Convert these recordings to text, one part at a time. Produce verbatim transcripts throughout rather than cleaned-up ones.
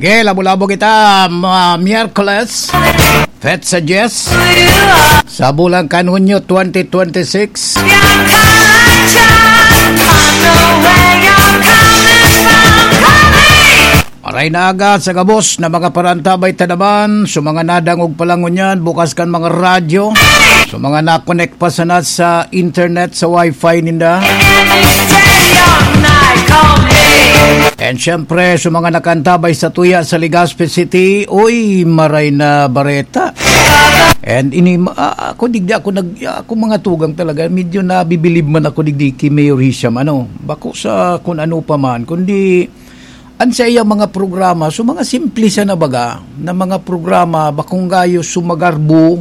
Okay, labo-labo kita, mga Miyerkules, Fetsa Jess, sa bulan kan Hunyo twenty twenty-six. Maray na aga sa gabos na mga parantabay ta naman, sa mga nadangog pa lang ngunyan, bukas kan mga radyo, sa mga nakonek pa sana sa internet, sa wifi ninda. And syempre, sa mga nakantabay sa tuya sa Legazpi City, uy, maray na bareta. And ini, ma- ah, ako, digdi ako nag, ako mga tugang talaga, medyo nabibilib man ako digdi ki Mayor Hisham, ano, bako sa kun ano pa man, kundi an sa iyang mga programa, so mga simple siya na baga, na mga programa, bakong gayo sumagarbo,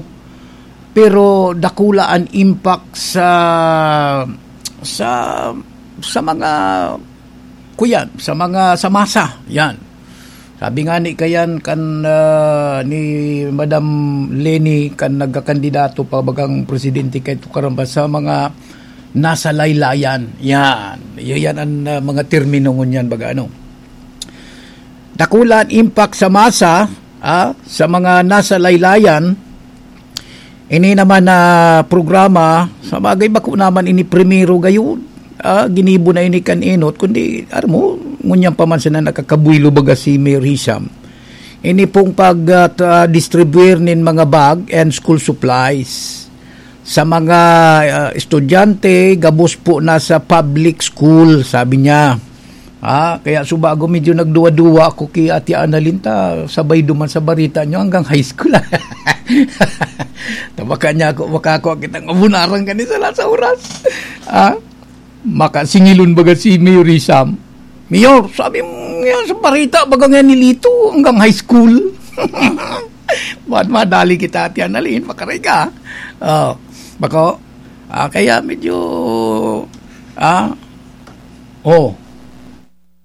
pero dakula an impact sa, sa, sa mga, kuyan, sa mga, sa masa, yan. Sabi nga ni kayan kan, ah, ni Madam Leni kan nagkakandidato pa bagang presidente kay Tukaramba sa mga nasa laylayan. Yan. Yan an, ah, mga termino ngunyan baga ano. Dakula an impact sa masa, ah, sa mga nasa laylayan. Ini naman na programa, sa bagay, bako naman ini primero gayon. Ah, ginibo na ini kan enot, kundi, aram mo, ngunyan pa man sana nakakabuelo baga si Mayor Hisham. Ini pong pag, ah, tra- distribuer nin mga bag and school supplies sa mga, ah, estudyante, gabos po na sa public school, sabi niya. Ah, kaya subago medyo nagduwa-duwa ako ki Ate Annalyn ta, sabay duman sa bareta niyo hanggang high school. Tabaka niya ako, makakwa kitang abunaran kani sa lasa oras. Ah, makasingilon baga si Mayor Sam. "Mayor, sabi mo yan sa bareta, baga nga ni Lito hanggang high school." Ba't madali kita, Ate Annalyn? Makaray ka. Oh, bako, ah, kaya medyo, ah, oh,